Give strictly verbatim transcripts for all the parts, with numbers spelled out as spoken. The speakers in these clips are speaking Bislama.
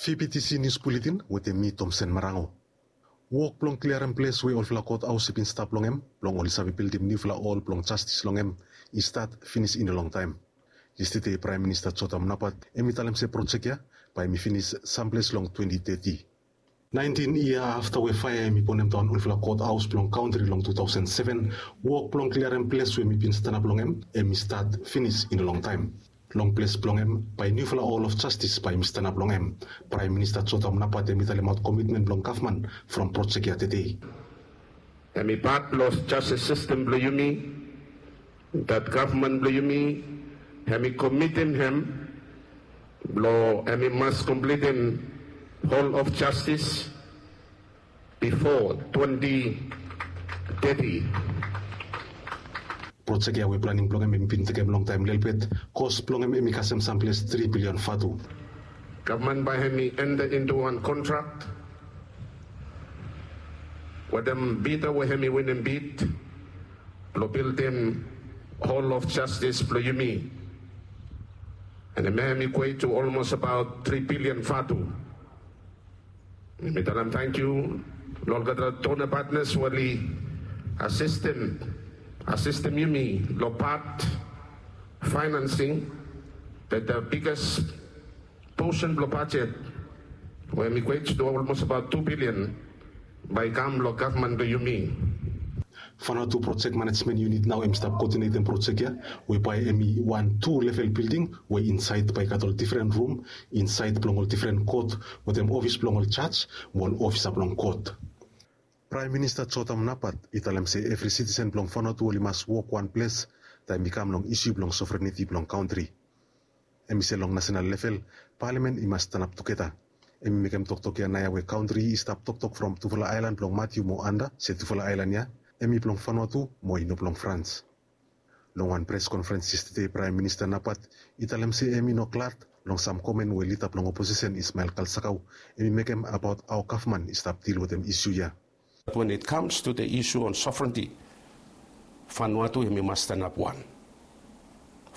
Fipitisi nius buletin wetem mi, Tomsen Marango. Wok blong kliarem ples we olfala kot haos i bin stap long hem blong oli save bildim niufala hol blong jastis long hem i stat finis i no longtaem. Yestede Praem Minista Jotam Napat hem i talem se projek ya bae hem i finis samples long twenti teti. Naentin yia afta we faea hem i bonem daon olfala kot haos blong kantri long tu taosen seven, wok blong kliarem ples we hem i bin stanap long hem hem i stat finis i no longtaem. Long ples blong hem bae niufala hol of jastis bae hem i stanap long hem. Praem Minista Jotam Napat hem i talemaot komitmen blong gavman from projek ya tede. Hem i pat blong jastis sistem blong yumi, dat gavman blong yumi hem i komitim hem blong hem i mas komplitim hol of jastis bifo twenti teti. Projek ya we planing blong hem hem i bin tekem longtaem lelebet, kos blong hem hem i kasem samples tri bilion vatu. Gavman bae hem i enta intu wan kontrak wetem bida we hem i winim bid blong bildim hol of jastis blong yumi. An hem ya hem i kwet tu olmos abaot tri bilion vatu. Mi talem tangkiu long olgeta dona patnas we oli asistem asistem yumi long pat faenansing, bat da biges posen blong bajet we hem i kwet tu olmos abaot tu bilion bae i kam long gavman blong yumi. Fanua tu projek manejmen yunit nao hem i stap koodinetem projek ya we bae hem i wan tu level bilding we insaed bae i gat ol difren rum insaed blong ol difren kot wetem ofis blong ol jaj mo ol ofisa blong kot. Praem Minista Jotam Napat i talem se evri sitisen blong Fanua tu oli mas wok wan ples taem i kam long isu blong sovereniti blong kantri. Hem i se long nasenal level palamen i mas stanap tugeta. Hem i mekem toktok ya naoia we kantri i stap toktok from tufala aelan blong Matiu mo Anda se tufala aelan ya hem i blong Fanua tu mo i no blong Frans. Long wan pres konferens yestede Praem Minista Napat i talem se hem i no glad long sam komen we lida blong oposisen Ismael Kalsakau hem i mekem abaot hao gavman i stap dil wetem isu ya. When it comes to the issue on sovereignty, Vanuatu hem i mas stanap wan.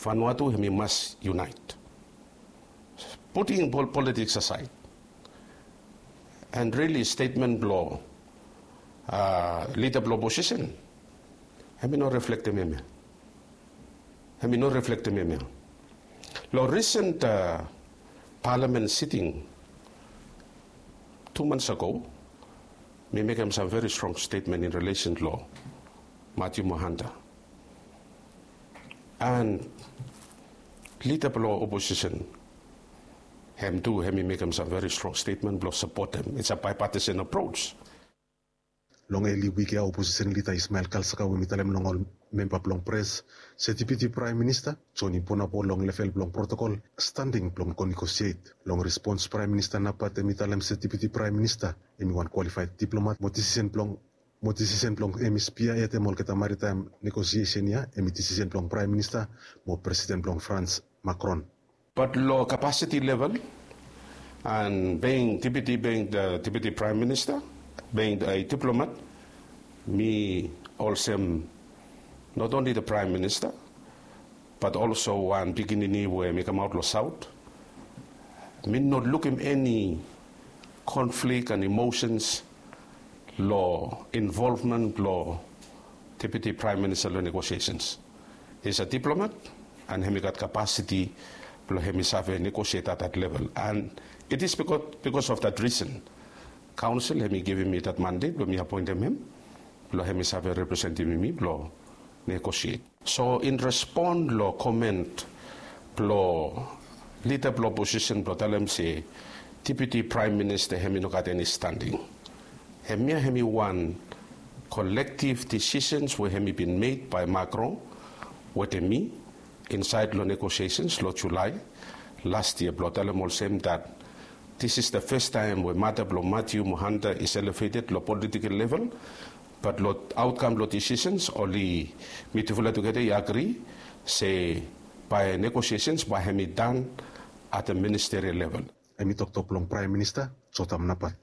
Vanuatu hem i mas unite. Putting politics aside, and really statement blong lida blong oposisen hem i no reflektem hemia. Hem i no reflektem hemia. Long recent palamen siting tu months ago, mi mekem sam very strong statement in relation long Matiu Mohanta. And lida blong oposisen hem tu hem i mekem sam very strong statement blong sapotem. It's a bipartisan approach. Long eli wik ya oposisen lida Ismael Kalsakau hem i talem long ol memba blong pres se Deputi Praem Minista Joni Bonapo long level blong protokol standing blong go negosiet. Long respons Praem Minista Napat hem i talem se Deputi Praem Minista hem i wan kwalifaed diplomat mo disisen blong mo disisen blong hem i spia hetem olgeta maritaem negosiesen ya hem i disisen blong Praem Minista mo presiden blong Frans, Makron. Bat long kapasiti level an being Deputi being Deputi Praem Minista, being a diplomat, mi olsem not only the Praem Minista bat olso wan pikinini we mi kamaot long saot, mi no lukim eni konflik an imosens long involvmen blong Deputi Praem Minista long negosiesens. He's a diplomat an hem i gat kapasiti blong hem i save negosiet at that level. An it is bikos of that risen kaonsel hem i givim mi that mandet blong mi apoentem hem blong hem i save representim mi blong negosiet. So in respon long komen blong lida blong oposisen blong talem se Deputi Praem Minista hem i no gat eni standing, hemia hem i wan kolektiv disisens we hem i bin mek bae Makron wetem mi insaed long negosiesens long Julae las yia blong talem olsem that this is the fes taem we mata blong Matiu Mohanta is eleveted long politikel level. Bat long aotkam blong disisens oli mitufala tugeta i agri se bae negosiesens bae hem i dan at a ministerial level. Hem i toktok blong Praem Minista Jotam Napat.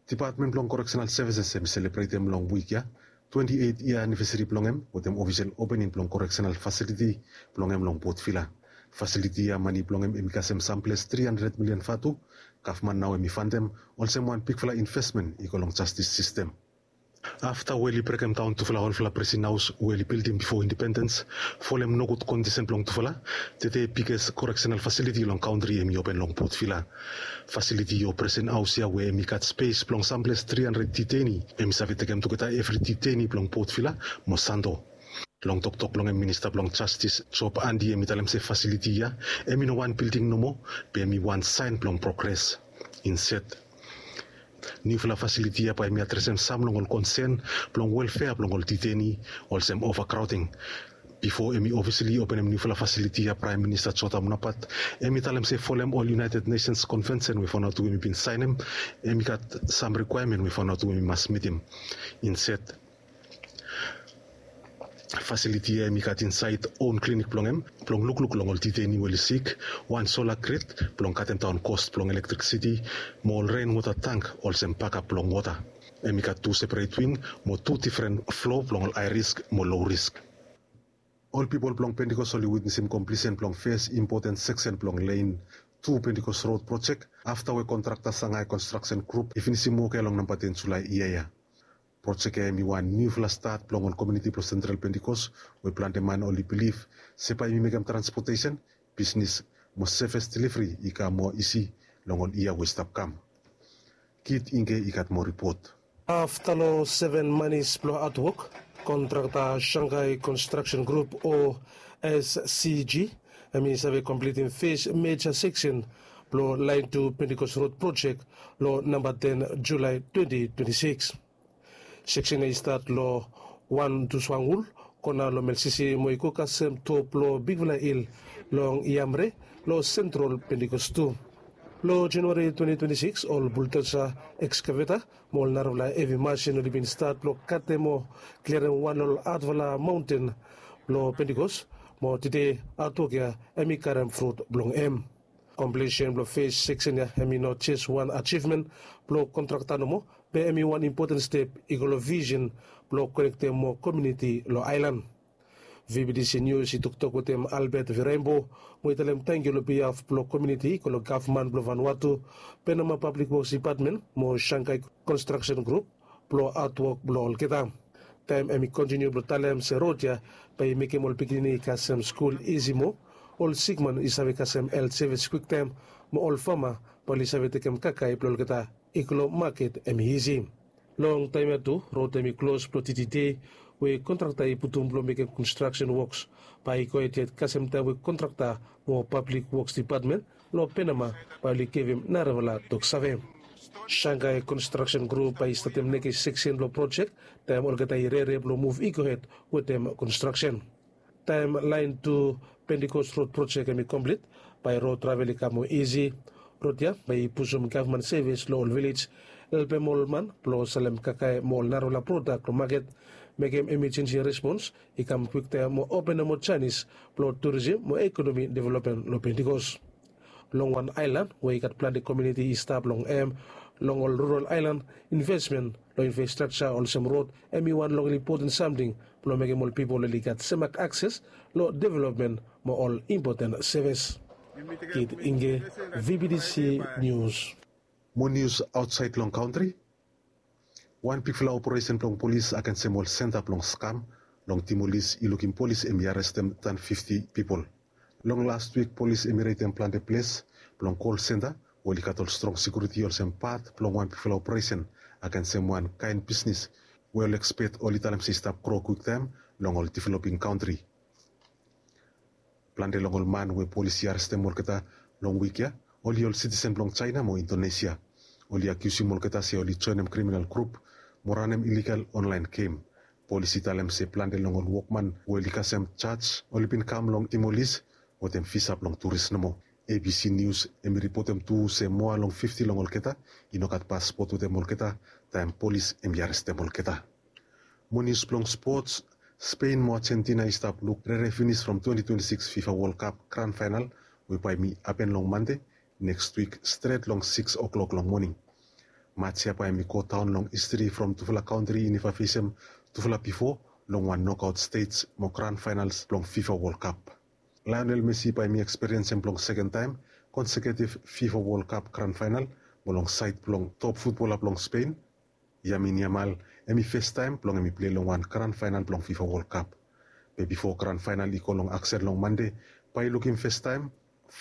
Dipatmen blong Koreksenal Sevises hem i selebretem long wik ya twenti eit yia anivesari blong hem wetem ofisel opening blong koreksenal fasiliti blong hem long Port Vila. Fasiliti ya mane blong hem hem i kasem samples tri handred milian vatu. Gavman nao hem i fantem olsem wan bigfala invesmen i go long jastis sistem. Afta we oli brekemdaon tufala olfala presin haos we oli bildim bifo indipendens, folem nogud kondisen blong tufala, tede biges koreksenal fasiliti long kantri hem i open long potvila. Fasiliti o presin haos ya we hem i gat spes blong samples tri handred diteni, hem i save tekem tugeta evri diteni blong potvila mo santo. Long toktok blong hem minista blong jastis job andi hem i talem se fasiliti ya hem i no wan bilding nomo, be hem i wan saen blong progres. Inset niufala fasiliti ya bae hem i adresem sam long ol konsen blong welfea blong ol diteni, olsem ovakrawting. Bifo hem i ofisili openem niufala fasiliti ya praem minista jota munapat hem i talem se folem ol united nesens konvensen we fanatu hem i bin saenem, hem i gat sam rikwaemen we fanatu hem i mas mitim. Inset fasiliti ya hem i gat insaed on klinik blong hem blong lukluk long ol diteni we oli sik, wan sola grid blong katemdaon kos blong elektrisiti, mo ol renwota tang olsem bakap blong wota. Hem i gat tu seperet wing mo tu difren flo blong ol hae risk mo low risk. Ol pipol blong pentikos oli witnesim komplisen blong fes impoten seksen blong len tu pentikos rod projek, afta we kontrakta sangai konstraksen grup i finisim wok ya long namba ten julae yia ya. Projek ya hem i wan niufala stat blong ol komiuniti blong sentral pentikos, we plante man oli bilif se bae hem i mekem transpotesen, bisnis mo sevis delivri i kam moa isi long ol yia we i stap kam. Kit inge i gat moa ripot. Afta long seven manis blong atwok, kontrakta shangai konstraksen grup o s c g hem i save komplitim fes meja seksen blong laen tu pentikos rod projek long namba ten julae twenti twenti sikis. Seksen ya i stat long wan tuswangul kona long melsisi mo i go kasem top long bigfala hil long yamre long sentral pentikos tu. Long januari twenti twenti sikis ol buldosa, ekskaveta mo ol narafala hevi masin oli bin stat blong katem o klirim wan long ol hatfala maonten blong pentikos, mo tede atwok ya hem i karem frut blong hem. Komplisen blong fes seksen ya hem i no jes wan ajivmen blong kontrakta nomo, be hem i wan impoten step i go long visen blong konektem moa komiuniti long aelan. V B T C nius i toktok wetem Albert Viraimbo mo i talem tangkiu long bihaf blong komiuniti i go long gavman blong Vanuatu, Penama Pablik Woks Dipatmen mo Shanghai Konstraksen Grup blong hatwok blong olgeta. Taem hem i kontiniu blong talem se rod ya bae i mekem ol pikinini i kasem skul isi moa, ol sikman i save kasem helt sevis kwiktaem, mo ol fama bae oli save tekem kakae blong olgeta i go long maket hem i isi. Long taem ya tu rod hem i klos blong titi dei we kontrakta i putum blong mekem konstraksen woks bae i gohed yet kasem taem we kontrakta mo pablik woks dipatmen long Penama bae oli givim narafala toksave. Shanghai Konstraksen Grup bae i statem nekis seksen blong projek taem olgeta i rere blong muv i gohed wetem konstraksen. Taem laen tu Pentikos rod projek hem i komplit, bae rod travel i kam moa isi. Rod ya bae i pusum gavman sevis long ol vilej, helpem ol man blong salem kakae mo ol narafala prodak long maket, mekem emejensi respons i kam kwiktaem mo openem ol janis blong turisim mo ekonomi developmen long Pentikos. Long wan aelan we i gat plante komiuniti i stap long hem, long ol rural aelan, invesmen long infrastrakja olsem rod hem i wan long ol impoten samting blong mekem ol pipol oli gat semak akses long developmen mo ol impoten sevis. Kit Inge, V B T C Nius. Mo nius aotsaed long kantri. Wan bigfala operesen blong polis agensem ol senta blong skam long Timolis i lukim polis hem i arestem tan fifti pipol. Long las wik polis hem i reidem plante ples blong kol senta we oli gat ol strong sekiuriti olsem pat blong wan bigfala operesen agensem wan kaen bisnis we ol ekspet oli talem se i stap gro kwiktaem long ol developing kantri. Plante long ol man we polis i arestem olgeta long wik ya oli ol sitisen blong Jaena mo Indonesia. Oli akiusim olgeta se oli joenem kriminal grup mo ranem iligal onlaen gem. Polis i talem se plante long ol wokman we oli kasem jaj oli bin kam long Timolis wetem visa blong turis nomo. A B C Nius hem i ripotem tu se moa long fifti long olgeta i no gat paspot wetem olgeta taem polis hem i arestem olgeta. Mo nius blong spots, Spen mo Ajentina i stap luk rere finis from twenti twenti sikis FIFA Wol Kap gran faenal we bae hem i hapen long Mande neks wik stret long sikis oklok long moning. Maj ya bae hem i godaon long histri from tufala kantri i neva fesem tufala bifo long wan nokaot stej mo gran faenals blong FIFA Wol Kap. Lionel Messi bae mi eksperiensem blong seken taem konseketif fifa wol kap gran faenal mo long saed blong top futbola blong Spen, Yamin Yamal, hem i festaem blong hem i plei long wan gran faenal blong fifa wol kap. Be bifo gran faenal i go long aksen long Mande, bae i lukim festaem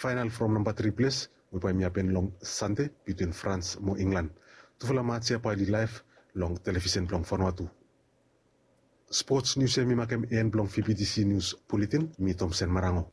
faenal from namba tri ples we bae mi hapen long Sande bitwin Frans mo Inglan. Tufala mats ya bae oli laef long televisen blong Vanuatu. Spots nius ya mi makem en blong vbtc nius buletin. Mi Tomsen Marango.